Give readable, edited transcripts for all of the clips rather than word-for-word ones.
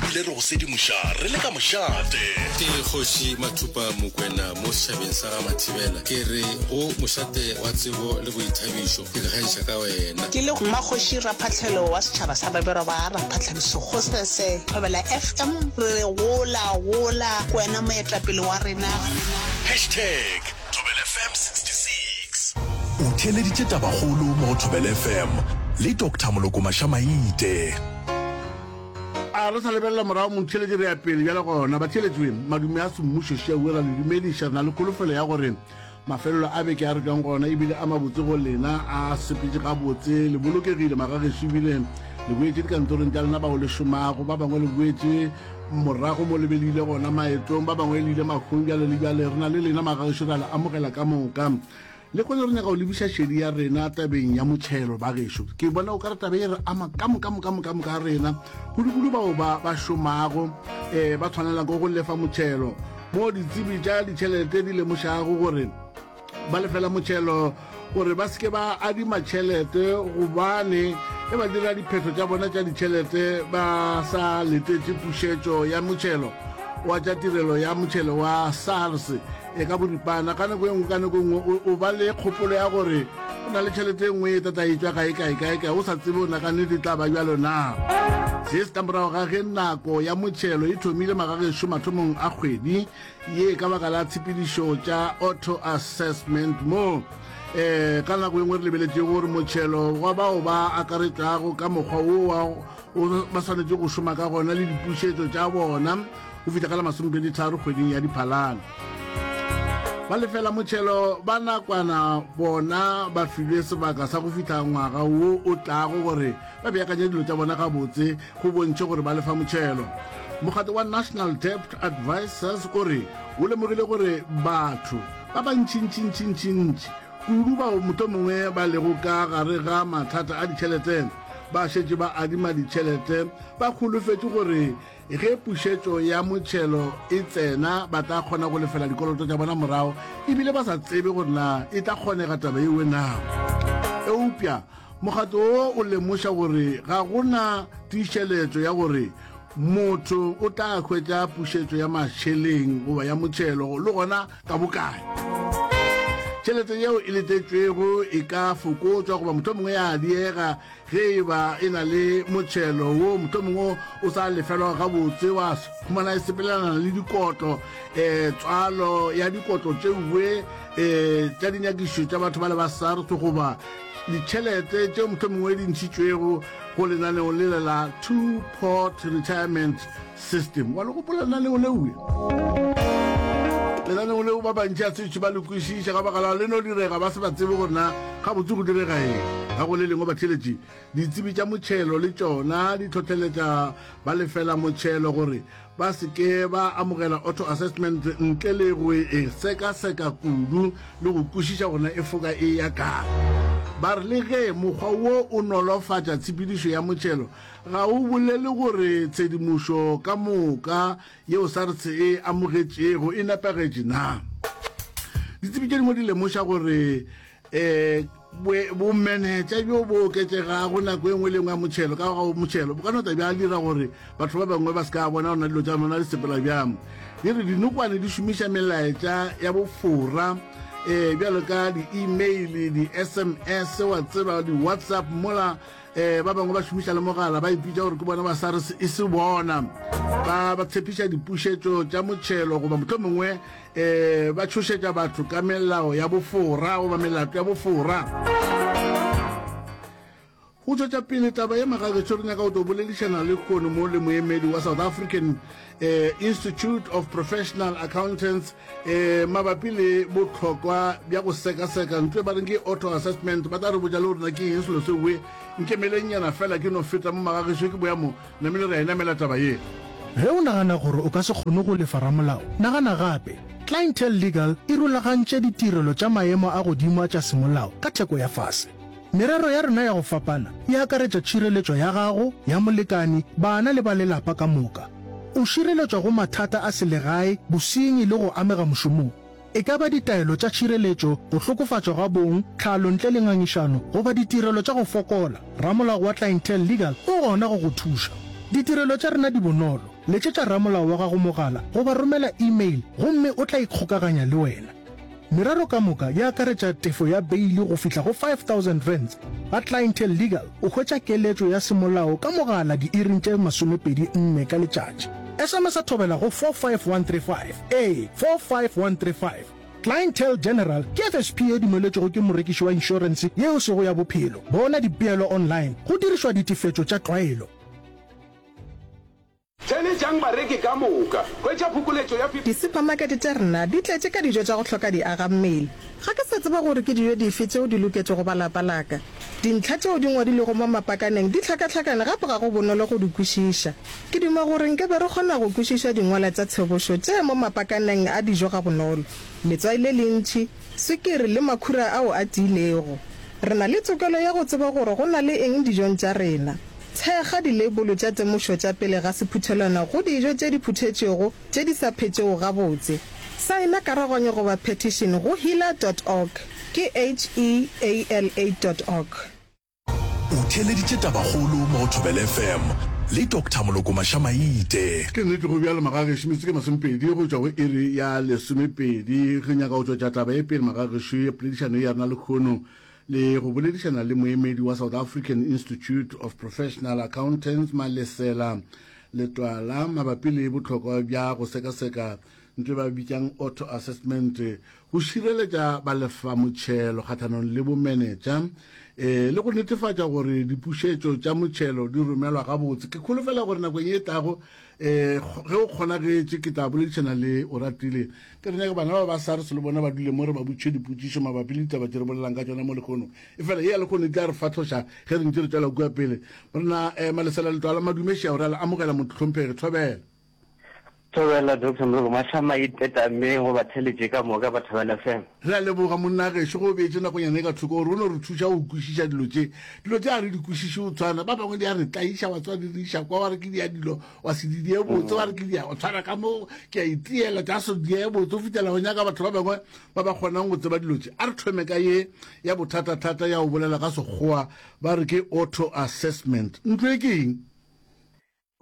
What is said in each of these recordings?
Ebile re go sedimoša re le ka mošate. Ke Kgoši Mathupa Mokwena mo setšhabeng sa ga Mathibela. Ke re go mošate wa tsebo le boithabišo, ke ikgantšha ka wena. Ke le Mmakgoši Raphahlelo wa setšhaba sa Babirwa ba Raphahlelo Sekgosese, Thobela FM, re re gola, gola, ke wena moetapele wa rena. Hashtag Thobela FM 66. O theeleditše Tabakgolo mo go Thobela FM le Doctor Moloko Mashamaite. A re sa lebelela morago motheeletši re ya pele bjale gona. Batheeletši we, madume a semmušo šeue ra le dumediša. Re na le kholofelo ya gore mafelelo a beke a re tšwang gona ebile a mabotse go lena, a sepetše gabotse, le bolokegile magagešo ebile le boetše dikantorong tša lena bao le šomago, ba bangwe le boetše morago mo le be le ile gona maetong, ba bangwe le ile mahung bjale le bjale. Re na le lena magagešo, re a le amogela ka moka. Lehono re nyaka go lebiša šedi ya rena tabeng ya motšhelo, bagešo. Ke bona o ka re taba e re ama ka moka moka moka moka rena, kudu-kudu bao ba ba šomago um ba tshwanela ke go lefa motšhelo. Mo ditsebi tša ditšhelete di lemošago gore ba lefela motšhelo gore ba se ke ba adima tšhelete gobane ge ba dira diphetho tša bona tša ditšhelete ba sa letetše pušetšo ya motšhelo wa tša tirelo ya motšhelo wa SARS. E ka boripana, ka nako e nngwe ka nako e nngwe o ba le kgopolo ya gore o na le tšhelete e nngwe e tata e tšwa kae kae kae kae, o sa tsebe o na ka nnete e tla ba bjalo na. Se se ka morago ga ge nako ya motšhelo e thomile magagešo mathomong a kgwedi ye ka baka la tshepedišo tša auto assessment mo um ka nako e nngwe re lebeletšego gore motšhelo wa bao ba akaretšwago ka mokgwa wo wa ba swanetše go šoma ka gona le dipušetšo tša bona go fihla ka la masomepeditharo kgweding ya Diphalane. Ba lefela motšhelo ba nakwana bona ba filwe sebaka sa go fihla ngwaga wo o tlago gore ba beakanye dilo tša bona gabotse go bontšhe gore ba lefa motšhelo. Mokgatlo wa National Debt Advisors o re o lemogile gore batho ba bantšintšintšintšintši kudu bao mohlomongwe ba lego ka gare ga mathata a ditšhelete ba šetše ba adima ditšhelete ba holofetše gore Ge pušetšo ya motšhelo e tsena, ba tla kgona go lefela dikoloto tša bona morago e bile ba sa tsebe gore na e tla kgonega taba yeo na. Eupša mokgatlo wo o lemoša gore ga go na tiišeletšo ya gore motho o tla hwetša pušetšo ya mašeleng goba ya motšhelo le gona ka bokae. Tšhelete yeo e letetšwego e ka fokotšwa goba mohlomongwe ya diega Ge e ba e na le motšhelo wo mohlomongwe o sa lefelwago gabotse, wa humana e sepelelana le dikotlo, um tswalo ya dikotlo tšeue um tša dinyakišišo tša batho bale ba SARS goba ditšhelete tšeo mohlomongwe di ntšhitšwego go lenaneo lele la Two-Pot Retirement System. Wa le gopola lenaneo leue? Lenaneo leo ba bantši a setše ba le kwešiša ka baka la le no direga ba se ba tsebe gore na gabotse go direga eng. Ka go le lengwe batheeletši, ditsebi tša motšhelo le tšona di hlohleletša ba lefela motšhelo gore ba se ke ba amogela auto assessment ntle le go e sekaseka kudu le go kwešiša gore na e foka e ya kae. Ba re le ge mokgwa wo o nolofatša tshepedišo ya motšhelo, Ga o bolele gore tshedimošo ka moka yeo SARS e amogetšego e nepagetše na? Ditsebi tše dingwe di lemoša gore um bomenetša bjo bo oketšegago nako e nngwe le nngwe ya motšhelo ka ga motšhelo bo ka no tla bja dira gore batho ba bangwe ba se ka bona gona dilo tša bona di sepela bjang. Di re dinokwane di šomiša melaetša ya bofora um bjalo ka di-email, di-SMS, wa tseba, di-WhatsApp mola Eh, ba bangwe ba šomiša le mogala ba ipitša gore ke bona ba SARS e se bona. Ba ba tshepiša dipušetšo tša motšhelo goba mohlomongwe eh, ba tšhošetša batho ka melao ya bofora goba melato ya bofora. Go tšwetša pele taba ye magagešo re nyaka go tlo boledišana le kono mo le moemedi wa South African eh, Institute of Professional Accountants eh, mabapi le bohlokwa bja go sekaseka ntlo e ba reng ke auto assessment. Ba tla re botša le gore na ke eng selo seo. Nkemelengnyana fela ke no feta mo magagešo ke boya mo namile re a e namela taba ye. Ge o nagana gore o ka se kgone go lefa ramolao, nagana gape. Clientele Legal e rulagantše ditirelo tša maemo a godimo a tša semolao ka theko ya fase. Merero ya rena ya go fapana e akaretša tšhireletšo ya gago, ya molekane, bana le ba lelapa ka moka. O šireletšwa go mathata a selegae, bosenyi le go amega mošomong. E ka ba ditaelo tša tšhireletšo, go hlokofatšwa ga bong, tlhalo ntle le ngangišano goba ditirelo tša go fokola, ramolao wa Clientele Legal o gona go go thuša. Ditirelo tša rena di bonolo, letšetša ramolao wa gago mogala goba romela email gomme o tla ikgokaganya le wena. Merero ka moka e akaretša tefo ya beili go fihla go R5000. Ga Clientele Legal o hwetša keletšo ya semolao ka mogala diiring tše 24 ka letšatši. SMS-a thobela go 45135, ee, 45135. Clientele General ke FSP ye dumeletšwego ke morekiši wa inšorense ye e sego ya bophelo. Bona dipeelo online go dirišwa ditefetšo tša tlwaelo. Theeletšang bareki ka moka. Hwetša phokoletšo ya 50. Disuphamakete tša rena di tletše ka dijo tša go hloka diagammele. Ga ke sa tseba gore ke dijo dife tšeo di loketšego ba lapa la ka. Dintlha tšeo di ngwadilwego mo mapakaneng di hlakahlakane gape ga go bonolo go di kwešiša. Ke duma gore nke be re kgona go kwešiša dingwalwa tša tshebošo tše mo mapakaneng a dijo gabonolo, letswai le lentši, swikiri le makhura ao a tiilego. Re na le tokelo ya go tseba gore go na le eng dijong tša rena. Thekga dileibolo tša temošo tša pele ga sephuthelwana go dijo tše di phuthetšwego tše di sa phetšego gabotse. Saena karaganyo goba petition go heala dot org, ke H-E-A-L-A dot org. O theeleditše Tabakgolo mo go Thobela FM le Doctor Moloko Mašamaite. Ke nnete go bjalo magagešo, metsotso ke masomepedi go tšwa go iri ya lesomepedi. Re nyaka go tšwetša taba ye pele magagešo ya poledišano ye ya rena lehono le go boledišana le moemedi wa South African Institute of Professional Accountants Malesela Letwala mabapi le bohlokwa bja go sekaseka ntho e ba bitšang auto assessment go šireletša balefamotšhelo kgahlanong le bomenetša e le go netefatša gore dipušetšo tša motšhelo di romelwa gabotse. Ke kholofela gore nakong e tlago um ge o kgonagetše ke tla boledišana le Oratile Ke re nyaka bana ba ba SARS le bona ba dule mo re ba botšiše dipotšišo mabapi le ditaba tše re bolelang ka tšona mo lehono. Efela ye ya lehono e tla re fahloša ge re ntše re tšwela kua pele. Morena eh, Malesela Letwala Madume Šea o re a le amogela Mohlomphegi. Thobela. Thobela Doctor Moloko Mahlama itetameng go batheletše ka moka ba Thobela FM. Re a leboga monna gešo ge o beetše nakonyana e ka thoko gore o no re thuša go kwešiša dilo tše. Dilo tše ga re di kwešiše go tshwana. Ba bangwe di a re tlaiša wa tseba di re iša kwa wa re ke di ya dilo wa se di die botse wa re ke dia o tshwara ka mo ke a itiela tša se die botse o fitela go nyaka batho ba bangwe ba ba kgonang go tseba dilo tše. A re thome ka ye ya bothatathata ya go bolela ka Sekgowa ba re ke auto assessment. Ntlo e ke eng?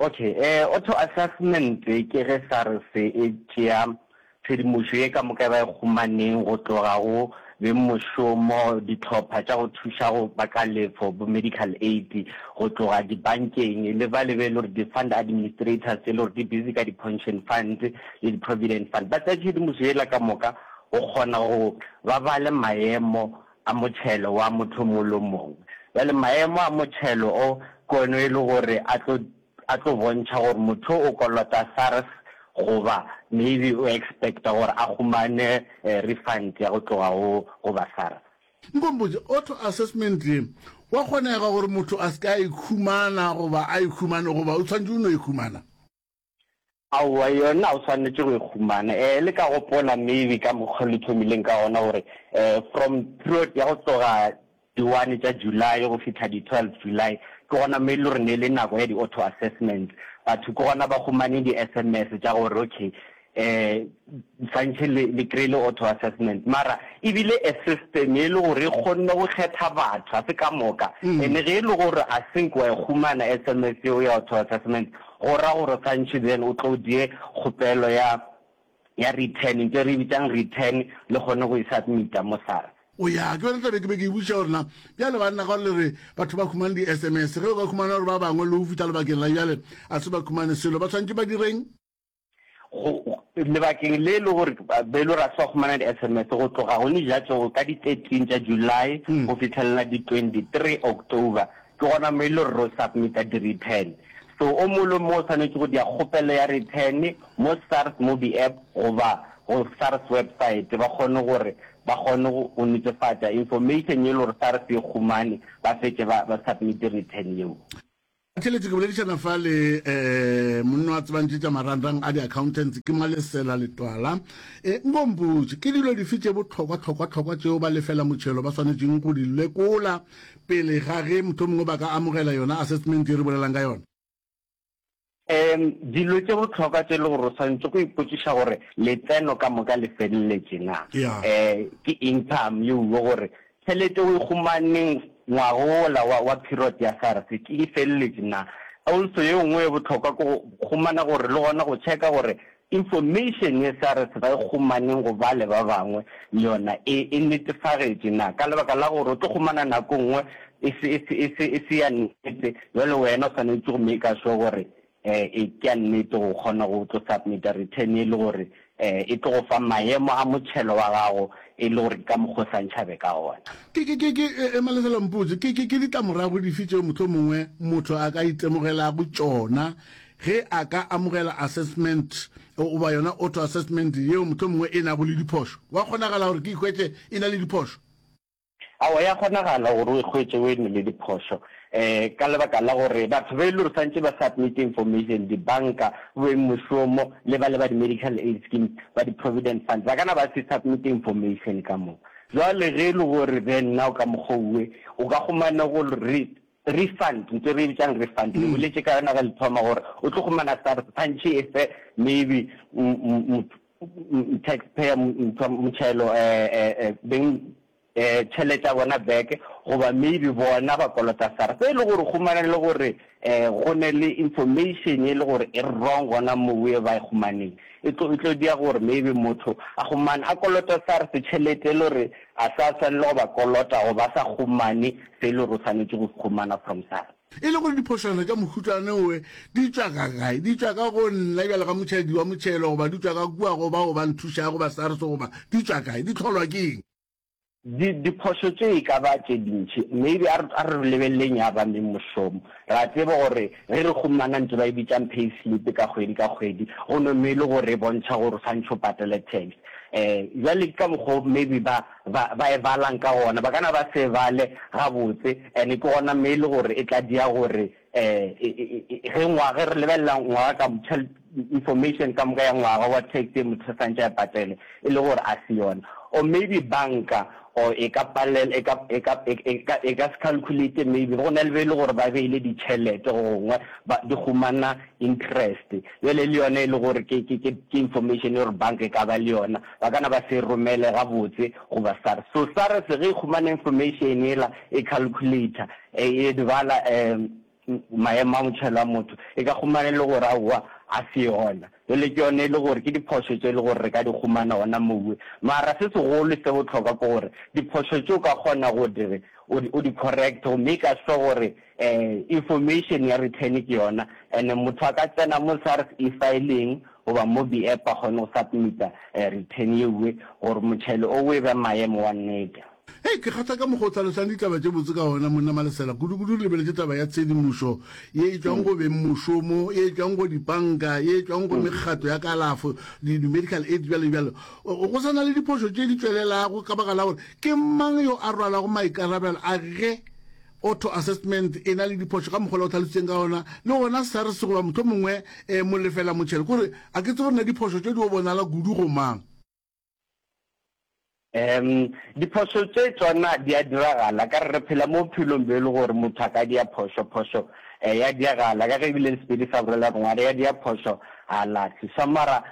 Okay, eh, auto assessment ke ge SARS e tšea Tshedimošo ye ka moka e ba e kgomaneng go tloga go bengmošomo, dihlopha tša go thuša go ba kalefo, bo medical aid, go tloga dibankeng le bale be e le gore di-fund administrators tše e le gore di busy ka di-pension funds le di-provident fund. Ba tsea tshedimošo yela ka moka go kgona go ba bale maemo a motšhelo wa motho o mongwe le o mongwe. Bjale maemo a motšhelo o ke one e le gore a tlo a tlo bontšha gore motho o kolota SARS goba maybe o expecta gore a humane refund ya go tloga go go ba SARS. Nkompotše, auto assessment ye, gwa kgonega gore motho a se ke a e humana goba a e humane goba o tshwanetše o no e humana? Aowa, yona o swanetše go e humana. Eh, le ka gopola maybe ka mokgwa le thomileng ka gona gore eh, from period ya go tloga di one tša July go fihla di 12 July, ke gona mo e le gore ne e le nako ya di auto assessments. Batho ke gona ba humane di SMS tša gore okay, eh, swantšhe le, le kry-ile auto assessment. Mara e bile a system e le gore e kgonne go kgetha batho, ga se ka moka. And ge e le gore I think wa e humana SMS yeo ya auto assessment, Go ra gore gantši then o tlo die kgopelo ya ya return, ntho e re e bitsang return, le kgone go e submita mo SARS. O ya, ke yona taba e ke be ke e botšiša gore na bjale banna ka gore le re batho ba khumane di-SMS, ge o ka khumana gore ba bangwe le go fihla lebakeng la bjale a se ba khumane selo, ba tshwanetše ba direng? Go, lebakeng le e le gore be e le gore a se ba khumana di-SMS go tloga gone jatšo ka di 13 tša July go fihlelela di 23 October, ke gona mo e le gore ro submita di-return. So o mongwe le o mongwe o swanetše go dia kgopelo ya return mo SARS Mobi App goba go SARS website ba kgone gore ba kgone go netefatša information ye e le gore SARS e khumane ba fetše ba ba submite return yeo. Theletše ke boledišana fa le um monna wa tsebang tše tša marangrang a di-accountants ke Malesela Letwala. E, nko mpotše, ke dilo dife tše bohlokwa-hlokwa-hlokwa tšeo ba lefela motšhelo ba swanetšeng go di lekola pele ga ge mohlomongwe ba ka amogela yona assessment ye re bolelang ka yona? Um dilo tše bohlokwa tše e le gore o swanetše go ipotšiša gore letseno ka moka le feleletše na. Yeah. Um ke income yeo gore Tšhelete o e humaneng ngwaga wola wa, wa period ya SARS, ke e feleletše na? Also ye nngwe ye bohlokwa ke go humana gore le gona go checka gore information ye SARS ba e humaneng go bale ba bangwe le yona e e netefagetše na, ka lebaka la gore o tlo humana nako nngwe e se e se e se e se ya nnete, bjale wena o swanetše go maker sure gore e ke ya nnete go kgona go tlo submita return e le gore e tlo go fa maemo a motšhelo wa gago e le gore ke ka mokgwa o swantšha be ka gona. Ke, ke, ke, ke, e, Malesela mpotše, ke, ke, ke ditlamorago dife tšeo mohlomongwe motho a ka itemogelago tšona ge a ka amogela assessment goba yona auto assessment yeo mohlomongwe e nago le diphošo? Gwa kgonagala gore ke ikhwetše e na le diphošo? Aowa, ya kgonagala gore o e hwetše o e ne le diphošo um ka lebaka la gore batho ba e le gore swantše ba submit information, dibanka, bengmošomo le ba le ba di-medical aid schemes, ba di-provident funds, ba ka na ba se submit information ka moka. Jwale ge e le gore then nna o ka mokgwa owe o ka humana go re refund, ntho e re e bitsang refund, le boletše ka yona ge le thoma gore o tlo humana SARS swantše e fe maybe taxpayer motšhelo beng tšhelete ya bona back goba maybe bona ba kolota SARS. E le gore humana le gore go ne le information e le gore e wrong gona moo e ba e humaneng, e tlo e tlo dia gore maybe motho a humane a kolota SARS tšhelete e le gore a sa swanela go ba kolota goba a sa humane se e le gore o swanetše go se humana from SARS. E le gore diphošwana tša mohutane owe di tšwa ka kae? Di tšwa ka go nna bjalo ka motšhedi wa motšhelo goba di tšwa ka kua go bao ba nthušago ba SARS goba di tšwa kae? Di hlolwa ke eng? Di, diphošo tše e ka ba tše dintši. Maybe a re, a re lebeleleng ya ba mengmošomo. Re a tseba gore ge re humana ntho ba e bitšang pay slip ka kgwedi ka kgwedi, go no me e le gore e bontšha gore o swantšhe o patele tax. Um bjale ke ka mokgwa o maybe ba, ba, ba e balang ka gona. Ba ka na ba se e bale gabotse, and ke gona me e le gore e tla dia gore um ge ngwaga, ge re lebelela ngwaga ka, information ka moka ya ngwaga wa tax ye motho a swantše a e patele, e le gore a se yona. Or maybe banka or e ka palela, e ka, e ka, e ka, e ka se calculate maybe, go na le be e le gore ba beile ditšhelete go gongwe, ba, di humana interest. Bjale le yona e le gore ke, ke, ke, ke information e gore banka e ka ba le yona, ba ka na ba se e romele gabotse go ba SARS. So SARS ge e humana information yela, e calculator, e, e bala um maemo a motšhelo a motho, e ka humana e le gore aowa a se yona. Bjale ke yona e le gore ke diphošo tše e le gore re ka di humana gona mowe. Mara se segolo se bohlokwa ke gore diphošo tše o ka kgona go di re o di, o di correct go maker sure gore um information ya return ke yona and motho a ka tsena mo SARS e-filing goba mo B-app a kgone go submita return yeuwe gore motšhelo owe e be maemo wa nnete. Hei, ke kgahla ka mokgwa o hlalosang ditaba tše botse ka gona, monna Malesela. Kudu-kudu re lebeletše taba ya tshedimošo ye e tšwang go bengmošomo, ye e tšwang go dipanka, ye e tšwang go mekgatlo ya kalafo, di-medical aid, bjalo le bjalo. Go sa na le diphošo tše di tšwelelago ka baka la gore ke mang yo a rwalago maikarabelo a ge Auto assessment e na le diphošo ka mokgwa o hlalositseng ka gona, le gona SARS goba mohlomongwe um molefela motšhelo, kore a ke tsebe gore na diphošo tše di o bonala kudu go mang. Um diphošo tše tšona di a diragala, ka re re phela mo bophelong bjo e le gore motho a ka dia phošo, phošo um ya diagala, ka ge ebile le Sepedi sa bolela gore ngwana ya dia phošo ga a lahle. So mara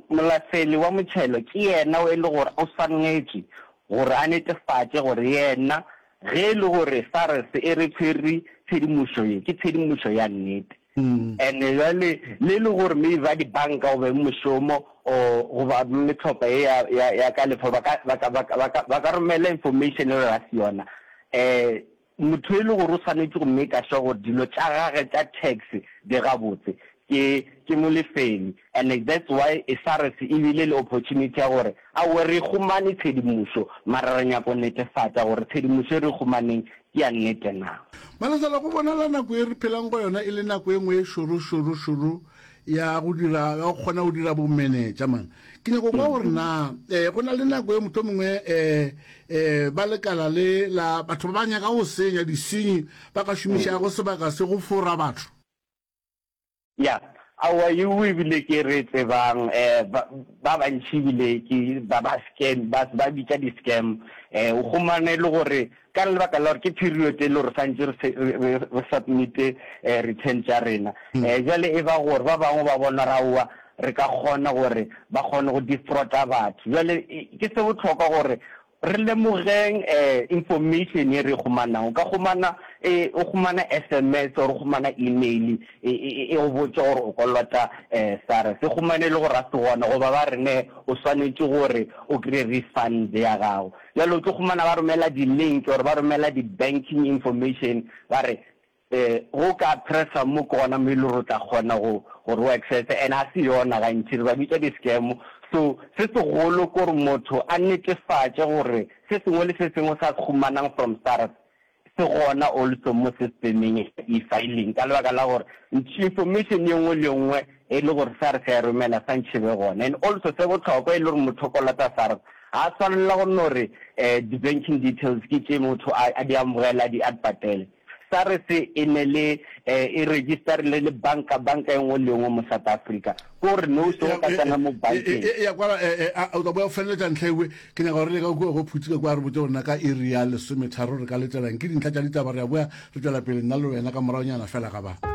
Molafeli wa motšhelo ke yena o e le gore o swanetše gore a netefatše gore yena ge e le gore SARS e re tshwere tshedimošo ye, ke tshedimošo ya nnete. And-e bjale le e le gore maybe ba dibanka goba mošomo or goba metlhopha ye ya, ya, ya kalefo ba ka, ba ka, ba ka, ba ka, ba ka romela information e le gore ga se yona, um Motho e le gore o swanetše go maker sure gore dilo tša gage tša tax di gabotse ke ke molefeli and that's why SARS e bile le opportunity ya gore aowa re humane tshedimošo mara re nyaka go netefatša gore tshedimošo e re e humaneng ke ya nnete na. Malesela, go bonala nako ye re phelang go yona e le nako e nngwe e šoro šoro šoro ya go dira, ya go kgona go dira bomenetša man. Ke nyako kwa gore na eh, go na le nako e motho mongwe eh, eh, ba lekala le la batho ba ba nyaka go senya disenyi ba ka šomišago sebaka se go fora batho. Ya, aowa yeo ebile ke re tsebang eh, ba, ba bantši ebile ke ba ba scam, ba, ba bitša di-scam. Eh, o humane e le gore Ka lebaka la gore ke period e le gore santše re re re submit-e return tša rena. Bjale e ba gore ba bangwe ba bona gore aowa re ka kgona gore ba kgone go defrauda batho. Bjale ke se bohlokwa gore Re lemogeng information ye re e humanang. O ka humana o humana sms or o humana email e go botša gore o kolota SARS. E humane e le gore ga se gona goba ba re ne o swanetše gore o kry-e refund ya gago. Bjale o tlo humana ba romela di-link or ba romela di-banking information ba re Ge o ka pressa mo ke gona mo e le gore o tla kgona go gore o access and ga se yona gantši re ba bitša di scam. So se segolo ke gore motho a netefatše gore se sengwe le se sengwe se a se humanang from SARS se gona also mo systemeng ya e-filing ka lebaka la gore information ye nngwe le ye nngwe e le gore SARS ya e romela santšhe be gona. And also se bohlokwa e le gore motho o kolota SARS ga a swanela go no re di-banking details ke tše motho a di amogele a di patele. SARS e ne le e registerile le banka banka e nngwe le nngwe mo South Africa. Ke gore no se o ka tsena mo bankeng. E ya kwala o tla boya o feleletša ntlha ewe. Ke nyaka gore le ka kua go Phuti ka kua re botse gore na ka iri ya lesometharo re ka letelang ke dintlha tša ditaba re ya boya re tšwela pele nna le wena ka moragonyana fela ga ba.